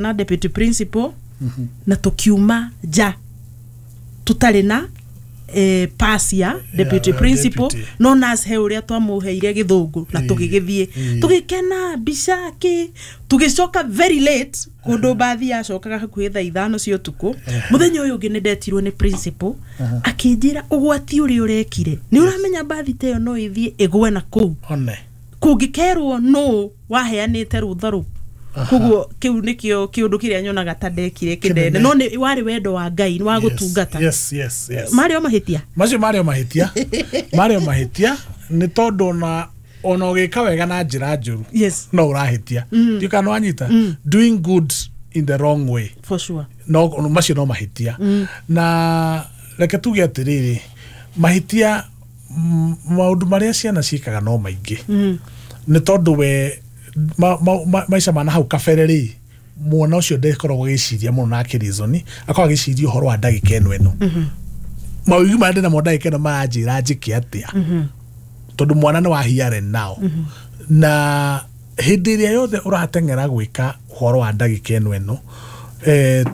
Na deputy principal na tukiuma nja tutarĩ na pass ya deputy principal. Deputy. No nurse he ũrĩa twamuheire gĩthũngũ na tũgĩgĩthiĩ tũgĩkena mbica kĩ, tũgĩcoka very late kũndũ mbathi yacokaga hakuhĩ thaa 5 cia ũtukũ. Mũthenya ũyũ ũngĩ nĩ ndetirwo nĩ principal, akĩnjĩra ũgwati ũrĩa ũrekire, nĩ ũramenya mbathi ta ĩyo no ĩthiĩ ĩgwe na kũu one kũngĩkerwo nũ waheanĩte rũtha rũu. Koguo kĩu nĩkĩo kĩũndũ kĩrĩa nyonaga ta ndekire kĩnene. Kĩnene. No nĩ warĩ wendo wa Ngai, nĩ wa gũtungata. Marĩ o mahĩtia. Macio marĩ o mahĩtia, marĩ o mahĩtia, nĩ tondũ ona ũgĩka wega na njĩra njũru no ũrahĩtia. Ndiũ kana wanyita, doing good in the wrong way. For sure. No macio no mahĩtia. Na reke tuge atĩrĩrĩ, mahĩtia, maũndũ marĩa ciana ciĩkaga no maingĩ, nĩ tondũ we maica ma na hau kabere rĩ, mwana ũcio ndekoragwo agĩciria mũno na akĩrizoni, akoragwo agĩciria ũhoro wa ndagĩka ĩno ĩno, mawĩigwi marĩa ndĩnamo ndagĩka ĩno maranjĩra njĩke atĩa, tondũ mwana nĩ wa here and now. Na hĩndĩ ĩrĩa yothe ũrateng'era gwĩka ũhoro wa ndagĩka ĩno ĩno,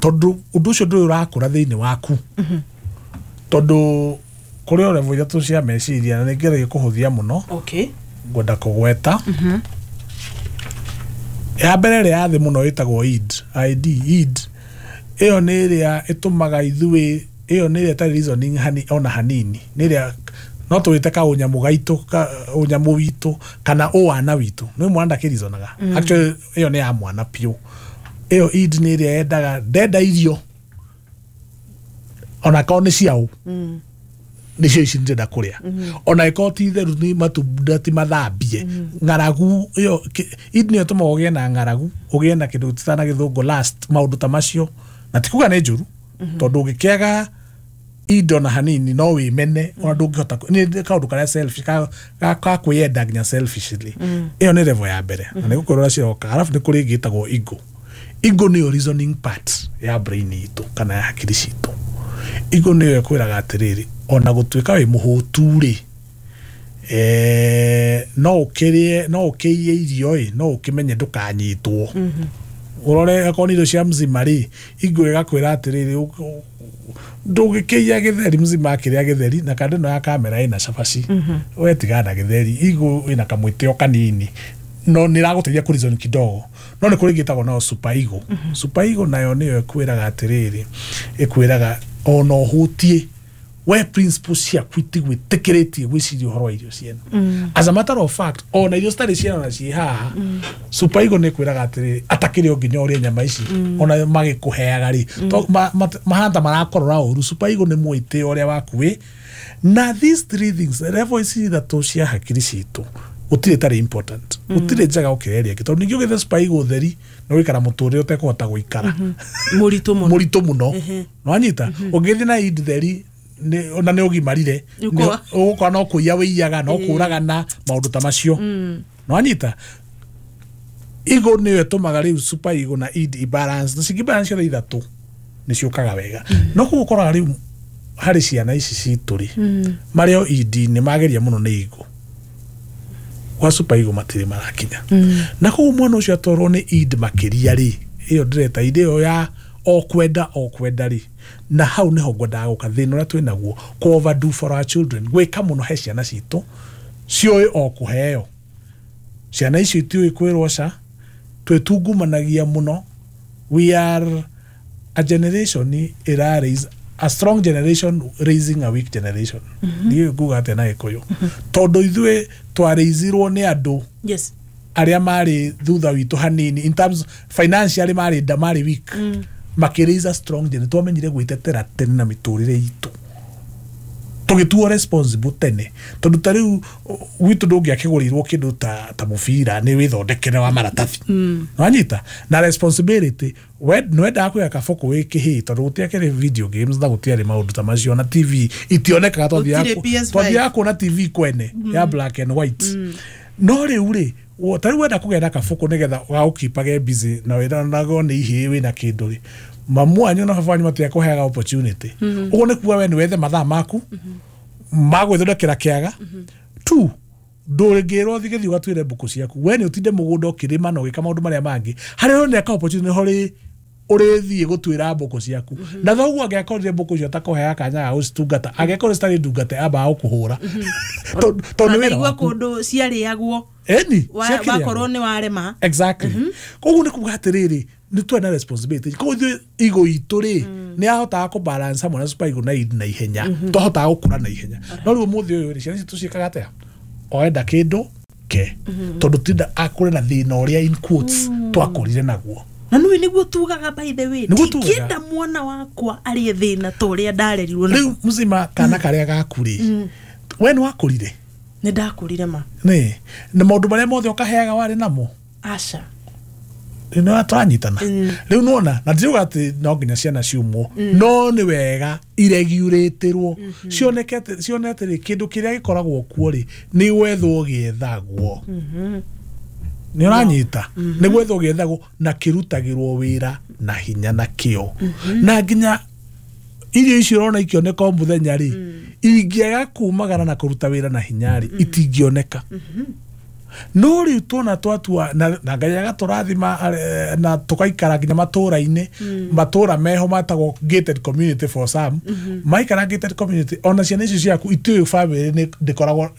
tondũ ũndũ ũcio ndũrĩ ũrakũra thĩinĩ waku, tondũ kũrĩ o level ithatũ cia meciria, na nĩ ngeragia kũhũthia mũno. Ngwenda kũgweta ya mbere, ĩrĩa ya thĩ mũno, ĩtagwo id, id id. Ĩyo nĩ ĩrĩa ĩtũmaga ithuĩ, ĩyo nĩ ĩrĩa ĩtarĩ reasoning ona hanini, nĩ ĩrĩa no tũwĩte ka ũnyamũ gaitũ, ka ũnyamũ witũ kana ũwana witũ. Nĩ mwana ndakĩrizonaga. Actually, ĩyo nĩ ya mwana piũ. Ĩyo id nĩ ĩrĩa yendaga, ndenda irio ona korwo nĩ ciaũ, nĩcio ici ndĩrenda kũrĩa, ona ĩkorwo ti theru, nĩ matunda ti mathambie. Ng'aragu ĩyo, id nĩyo ĩtũmaga ũgĩe na ng'aragu, ũgĩe na kĩndũ tũtana gĩthũngũ last, maũndũ ta macio. Na ti kuga nĩ njũru, tondũ ũngĩkĩaga id ona hanini no wĩmene, ona ndũngĩhota nĩ kaũndũ karĩa selfish, ka kwĩyenda nginya selfishly. Ĩyo nĩ level ya mbere na nĩ gũkwĩrora ciroka. Arabu nĩ kũrĩ ĩngĩ ĩtagwo ego. Ego nĩyo reasoning part ya brain itũ kana ya hakiri citũ. Ego nĩyo ĩkwĩraga atĩrĩrĩ, ona gũtuĩka wĩ mũhũtu rĩ, no ũkĩrĩe, no ũkĩiye irio ĩ, no ũkĩmenye ndũkanyitwo, ũrore akorwo nĩ irio cia mzima rĩ. Ego ĩgakwĩra atĩrĩrĩ, ndũngĩkĩiya gĩtheri, mzima akĩrĩa gĩtheri na kando ĩno ya kamera ĩna cabaci, we tigana na gĩtheri. Ego ĩna kamwĩtĩo kanini, no nĩ ĩragũteithia kũ reason kidogo. No nĩ kũrĩ ĩngĩ ĩtagwo nayo super ego. Super ego nayo nĩyo ĩkwĩraga atĩrĩrĩ, ĩkwĩraga ona ũhũtie we, principles ciaku itigwĩtĩkĩrĩtie gwĩciria ũhoro wa irio ciene. As a matter of fact, ona irio citarĩ ciana na ciĩ haha, super ego nĩ ĩkwĩraga atĩrĩrĩ, atakĩrĩ o nginya ũrĩe nyama ici, ona magĩkũheaga rĩ, mahana ta marakorora ũru. Super ego nĩ mwĩtĩo ũrĩa waku wĩ na. These three things, level ici ithatũ cia hakiri citũ, gũtirĩ ĩtarĩ important, gũtirĩ njega gũkĩra ĩrĩa ĩngĩ, tondũ ningĩ ũgĩthe super ego theri nĩ gũikara mũtũrĩre ũtekũhota gũikara. Mũritũ mũno. Mũritũ mũno. Nĩwanyita, ũngĩthiĩ na id theri ona nĩ ũgimarire. Ũkwa. Ũgũkora no kũiya wĩiyaga, no kũragana, maũndũ ta macio. Nĩwanyita, ego nĩyo ĩtũmaga rĩu super ego na id ibalance, na cingĩbalance ciothe ithatũ nĩ ciũkaga wega. No kũu ũkoraga rĩu harĩ ciana ici citũ rĩ, marĩ o id, nĩ mageria mũno nĩ ego, gwa super ego matirĩ marakinya. Na koguo mwana ũcio atwarwo nĩ id makĩria rĩ, ĩyo ndĩreta id ĩyo ya o kwenda o kwenda rĩ, na hau nĩho ngwendaga gũka thĩna ũrĩa twĩnaguo, kũ overdo for our children, gwĩka mũno he ciana citũ ciũĩ o kũheo. Ciana icio itiũĩ kwĩrwo ca, twĩtungumanagia mũno. We are a generation ĩra raise a strong generation raising a weak generation. Ndiũĩ nguga atĩa na Gĩkũyũ, tondũ ithuĩ twarĩizirwo nĩ andũ arĩa marĩ thutha witũ hanini in terms financially, marĩ nda marĩ weak, makĩraise a strong generation. Twamenyire gwĩtetera tene na mĩtũrĩre itũ, tũgĩtuo responsible tene, tondũ ta rĩu gwitũ ndũngĩakĩgũrĩirwo kĩndũ ta mũbira, nĩ wĩthondekere wa maratathi. Wanyita, na responsibility, we nĩwendaga kũiga kabũkũ wĩ kĩhĩĩ, tondũ gũtiakĩrĩ video games na gũtiarĩ maũndũ ta macio, na TV itionekaga. Gũtirĩ PS5. Twathiaga kuona TV kwene ya black and white. No rĩu rĩ, ta rĩu wenda kũgĩa na kabũkũ nĩgetha gagũkipage busy na wĩra nago nĩ ihĩĩ wĩna kĩndũ rĩ, mamu wanyu na baba wanyu matiakũheaga opportunity. Ũguo nĩ kuga we nĩ wethe mathaa maku ma gwĩthondekera kĩaga tu, ndũngĩrwo thiĩ gĩthiĩ ũgatuĩre mbũkũ ciaku, we nĩ ũtinde mũgũnda ũkĩrĩma na ũgĩka maũndũ marĩa mangĩ. Harĩa ũroneka opportunity nĩho rĩ Ũrĩthiĩ gũtuĩra mbũkũ ciaku na thoguo angĩakorire mbũkũ icio takũheaga kanya ga gũcitungata, angĩakorire citarĩ ndungate, ambaga gũkũhũra tondũ nĩ wĩra Ndaigua waku. Kũndũ ciarĩagwo. Eni ciakĩrĩagwo. Wakorwo nĩ warema. Exactly. Koguo nĩ kuga atĩrĩrĩ, nĩ twarĩ na responsibility. Koguo ithuĩ ego itũ rĩ, nĩ yahotaga kũ balance hamwe na super ego na id na ihenya, twahotaga gũkũra na ihenya. No rĩu ũmũthĩ ũyũ rĩ, ciana citũ ciĩkaga atĩa? Oenda kĩndũ ke tondũ tinda akũre na thĩna ũrĩa in quotes twakũrire naguo. Na nĩwe nĩguo tugaga, by the way, Nĩguo tugaga. ndingĩenda mwana wakwa arĩe thĩna ta ũrĩa ndarerirwo naguo. Rĩu mzima kana karĩa gaku rĩ, we nĩ wakũrire? Nĩ ndakũrire ma. Nĩ na maũndũ marĩa mothe ũkaheaga warĩ namo? Aca. Nĩ twanyitana rĩu nona na ndiriuga atĩ no nginya ciana ciumwo, no nĩ wega iregurĩtĩrwo cioneke cione atĩrĩ, kĩndũ kĩrĩa gĩkoragwo kuo rĩ, nĩ gwethwo gĩethagwo. Nĩ ũranyita? Nĩ gwethwo gĩethagwo na kĩrutagĩrwo wĩra na hinya na kĩo, na nginya irio icio ũrona ikĩoneka o mũthenya rĩ, ingĩaga kumagara na kũruta wĩra na hinya rĩ, itingĩoneka. No rĩu tuona twatua na Ngai agatũrathima na tũgaikara nginya matũra-inĩ, matũra meho matagwo gated community. For some maikara gated community, ona ciana icio ciaku itiũĩ family nĩ ndĩkoragwo,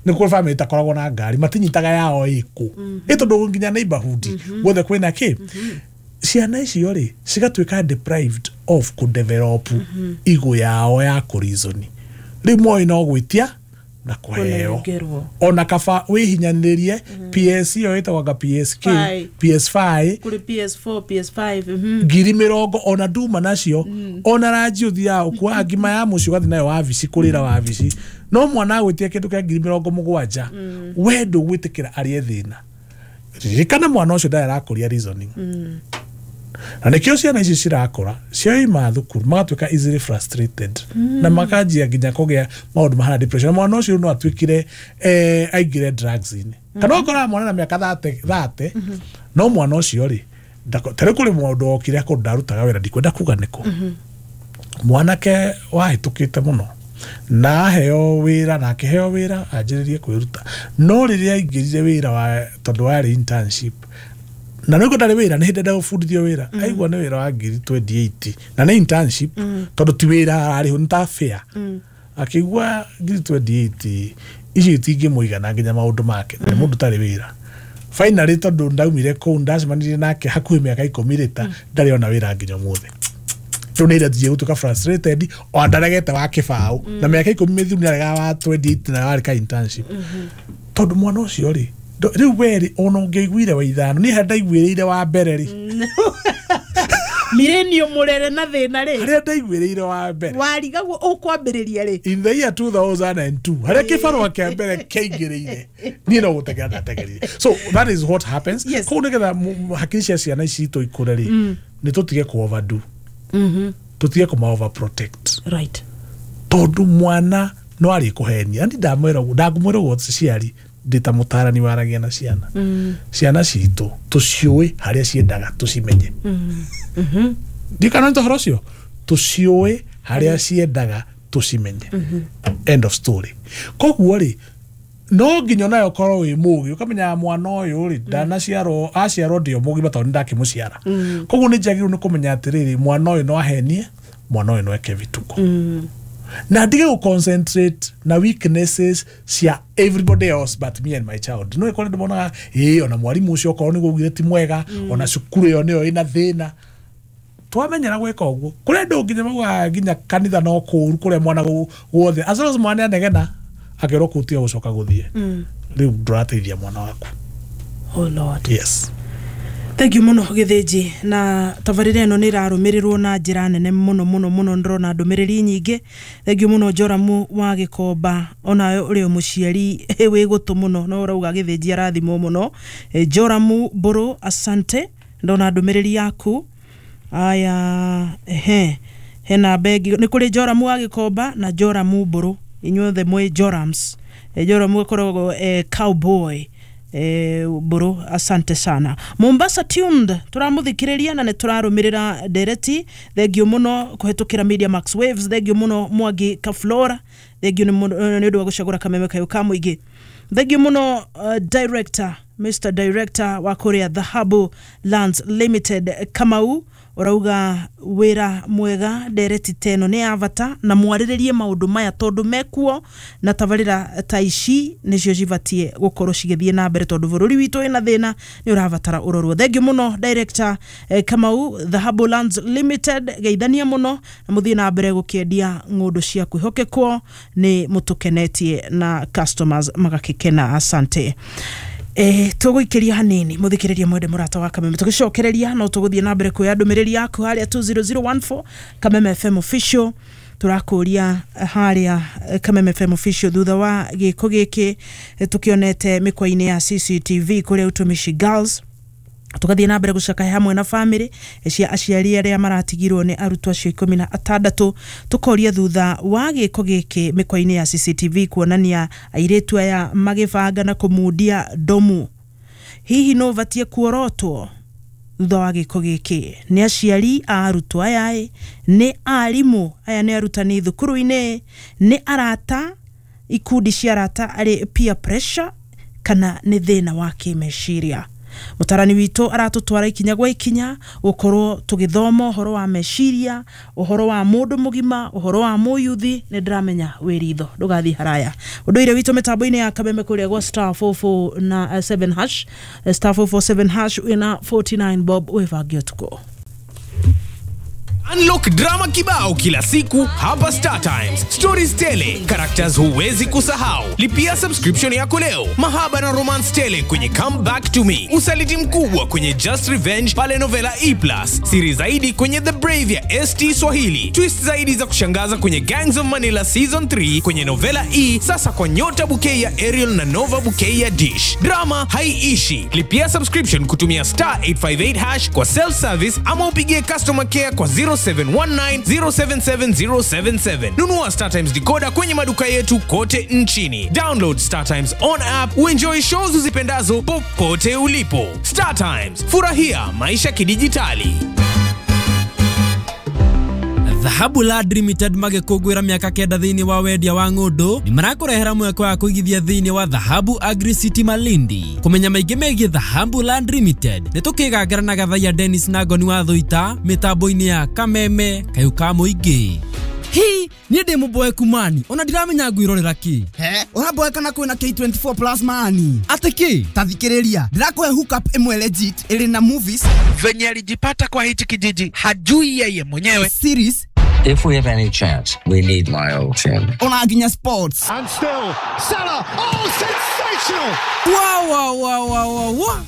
nĩ kũrĩ family itakoragwo na ngari, matinyitaga yao ĩkũ ĩ, tondũ nginya neighborhood guothe kwĩna kĩ. Ciana icio rĩ, cigatuĩka deprived of kũdevelop ego yao ya kũreason. Rĩu moĩ no gwĩtia na kũheo. Kũnengerwo. Ona kaba wĩhinyanĩrie PS ĩyo ĩtagwo anga PSK. Five. PS5. Kũrĩ PS4, PS5. 20,000 ona nduma nacio, ona ranji ũthiaga ũkuaga ngima ya mũciĩ ũgathiĩ nayo wabici kũrĩra wabici. No mwana agwĩtia kĩndũ kĩa 70,000, we ndũgwĩtĩkĩra arĩe thĩna. Ririkana mwana ũcio ndarĩ arakũria reasoning, na nĩkĩo ciana ici cirakũra cioima thukuru magatuĩka easily frustrated na makanjia nginya kũgĩa maũndũ mahana depression. Na mwana ũcio no atuĩkire aingĩre drugs-inĩ, kana ũkoraga mwana na mĩaka 30, no mwana ũcio rĩ, ta rĩu kũrĩ mũndũ wokire kũndũ ndarutaga wĩra, ndikwenda kuga nĩkũ, mwanake wahĩtũkĩte mũno na aheo wĩra na akĩheo wĩra anjĩrĩrie kwĩruta. No rĩrĩa aingĩrire wĩra wa, tondũ warĩ internship na nĩguo ndarĩ wĩra, nĩ hĩndĩ enda gũbundithio wĩra, aigua nĩ wĩra wa 28,000 na nĩ internship, tondũ ti wĩra ararĩhwo, nĩ ta fair, akĩigua 28,000 icio itingĩmũigana nginya maũndũ make na nĩ mũndũ ũtarĩ wĩra. Finally, tondũ ndaumire kũu ndacemanirie nake hakuhĩ mĩaka 10 rĩta, ndarĩ ona wĩra nginya ũmũthĩ. Rĩu nĩ irathie gũtuĩka frustrated, o ndaregete wa kĩbaũ na mĩaka 10 mĩthiru nĩ aregaga wa 28 na warĩ ka internship, tondũ mwana ũcio rĩ, rĩu werĩ ona ũngĩaiguire wa ithano, niĩ harĩa ndaiguĩrĩire wa mbere rĩ, Millennium mũrere na thĩna rĩ, harĩa ndaiguĩrĩire wa mbere, warigagwo ũkwambĩrĩria rĩ. In the year 2002, harĩa kĩbarũa kĩa mbere kĩaingĩrĩire, niĩ no gũtegera ndategerire. So that is what happens. Koguo nĩgetha hakiri cia ciana ici citũ ikũre rĩ, nĩ tũtige kũ overdo, tũtige kũma overprotect, tondũ mwana no arĩ kũhenia. Ni ndamwĩra ũguo, ndangũmwĩra ũguo ciari ndĩ ta mũtarani waragia na ciana. Ciana citũ tũciũĩ harĩa ciendaga tũcimenye. Ndikana nĩ ũhoro ũcio, tũciũĩ harĩa ciendaga tũcimenye. End of story. Koguo rĩ, no nginya onawe ũkorwo wĩ mũgĩ ũkamenya mwana ũyũ rĩ, ndanaciarwo, aciarwo ndĩ o mũgima tondũ nĩndakĩmũciara. Koguo nĩ njagĩrĩirwo nĩ kũmenya atĩrĩrĩ, mwana ũyũ no ahenie, mwana ũyũ no eke vituko, na ndige gũ concentrate na weaknesses cia everybody else but me and my child. No ĩkore ndĩmonaga ĩĩ, ona mwarimũ ũcio okorwo nĩguo augire ti mwega, ona cukuru ĩyo nĩyo ĩna thĩna. Twamenyera gwĩka ũguo, kũrĩ andũ nginya maugaga nginya kanitha no kũũru, kũrĩa mwana guothe, as long as mwana anegena akerwo kũu tiga gũcoka gũthiĩ, rĩu ndũrateithia mwana waku. Oh Lord. Yes. Thank you mũno Gĩthĩnji, na tabarĩra ĩno nĩ ĩrarũmĩrĩrwo na njĩra nene mũno mũno mũno. Ndĩrona ndũmĩrĩri nyingĩ. Thank you mũno Joramu wa Gĩkomba, onawe ũrĩ o mũciari wĩ gũtũ mũno no ũrauga Gĩthĩnji arathimwo mũno. Joramu Mbũrũ, asante, ndona ndũmĩrĩri yaku. Aya, ehe, hena bengi nĩ kũrĩ Joramu wa Gĩkomba na Joramu Mbũrũ, inyuothe mwĩ Jorams. Joramu akoragwo cowboy. Mbũrũ, asante sana. Mombasa tuned, tũramũthikĩrĩria na nĩ tũrarũmĩrĩra ndereti. Thank you mũno kũhetũkĩra Media Max Waves. Thank you mũno Mwangi Kaflora, thank you nĩ ũndũ wa gũcagũra kameme kayũ ka mũingĩ. Thank you mũno director, Mr Director wa kũrĩa Dhahabu Lands Limited, Kamau. Urauga wira mwega ndereti teno nĩ ya bata na mwarĩrĩrie maũndũ maya tondũ mekuo na tabarĩra ta ici nĩcio cibatie gũkorwo cigĩthiĩ na mbere tondũ bũrũri witũ wĩna thĩna nĩ ũrabatara ũrorwo. Thengiũ mũno director Kamau, Dhahabu Lands Limited, geithania mũno na mũthiĩ na mbere gũkĩendia ng'ũndũ cia kwĩhokekwo, nĩ mũtũkenetie na customers magakĩkena. Asante. Tũgũikĩria hanini mũthikĩrĩria mwende mũrata wa Kameme, tũgĩcokereria no tũgũthiĩ na mbere kuoya ndũmĩrĩri yaku harĩa 20014 Kameme FM official. Tũrakũria harĩa Kameme FM official thutha wa gĩko gĩkĩ tũkĩonete mĩkwa-inĩ ya CCTV kũrĩa Utumishi Girls, tugathiĩ na mbere gũcakaya hamwe na bamĩrĩ cia aciari arĩa maratigirwo nĩ arutwo acio 16. Tũkoria thutha wa gĩko gĩkĩ mĩkwa-inĩ ya CCTV kuonania airĩtu aya magĩbanga na kũmundia ndomu, hihi no ũbatie kuorotwo thutha wa gĩko gĩkĩ? Nĩ aciari a arutwo aya ĩ, nĩ arimũ aya, nĩ arutani thukuru-inĩ, nĩ arata, ikundi cia arata arĩ peer pressure, kana nĩ thĩna wa kĩmeciria? Mũtarani witũ aratũtwara ikinya gwa ikinya gũkorwo tũgĩthoma ũhoro wa meciria, ũhoro wa mũndũ mũgima, ũhoro wa mũyuthi. Nĩ ndĩramenya wĩ ritho, ndũgathiĩ haraya. Ũndũire witũ mĩtambo-inĩ ya Kameme kũrĩa gwa star 44 na 7 hash, star 447 hash, wĩna 49 bob wĩbange ũtukũ. Unlock drama kibao kila siku hapa Star Times. Stories tele, characters huwezi kusahau. Lipia subscription yako leo. Mahaba na romance tele kwenye Come Back to Me. Usaliti mkubwa kwenye Just Revenge pale Novela E+. Siri zaidi kwenye The Brave ya ST Swahili. Twist zaidi za kushangaza kwenye Gangs of Manila Season 3 kwenye Novela E, sasa kwa Nyota Bouquet ya Ariel na Nova Bouquet ya Dish. Drama haiishi. Lipia subscription kutumia star 858 hash kwa self service ama upigie customer care kwa 0719 077 077. Nunua Star Times decoder kwenye maduka yetu kote nchini. Download Star Times on app uenjoy shows uzipendazo popote ulipo. Star Times, furahia maisha kidijitali. Dhahabu Land Limited magĩkũngũĩra mĩaka 9 thĩinĩ wa wendia wa ng'ũndũ nĩ marakũrehera mweke wa kũigithia thĩinĩ wa Dhahabu Agri City Malindi. Kũmenya maingĩ megiĩ Dhahabu Land Limited nĩ tũkĩgangara na Gathaiya Dennis na Ngoni wa Thũita mĩtambo-inĩ ya Kameme kayũ ka mũingĩ. Hi, niĩ ndĩ mũboeku mani ona ndiramenya ngwĩrorera kĩ. He, ũraboeka na kwĩna K24 plus mani. Atĩ kĩ? Ta thikĩrĩria, ndĩrakũhe hookup ĩmwe legit ĩrĩ na movies, venye alijipata kwa hichi kijiji hajui yeye mwenyewe, series, If we have any chance, we need my old team. ona nginya sports. And still, Salah, oh, sensational! Wa wa wa wa wa wa.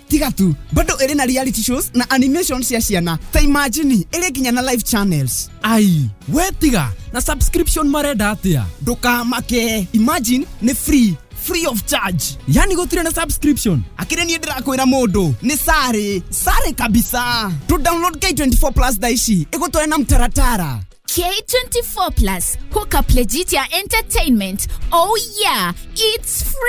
Tiga tu, bado ĩrĩ na reality shows na animation cia ciana. Ta imagine ĩrĩ nginya na live channels. Ai, we tiga na subscription marenda atĩa? Ndũkamake, imagine nĩ free, free of charge. Yani gũtirĩ na subscription? Akĩrĩ niĩ ndĩrakwĩra mũndũ nĩ sare sare kabisa. Tu download K24 plus thaa ici ĩgũtware na mtaratara. K24 Plus, hook up legit ya entertainment. Oh yeah, it's free.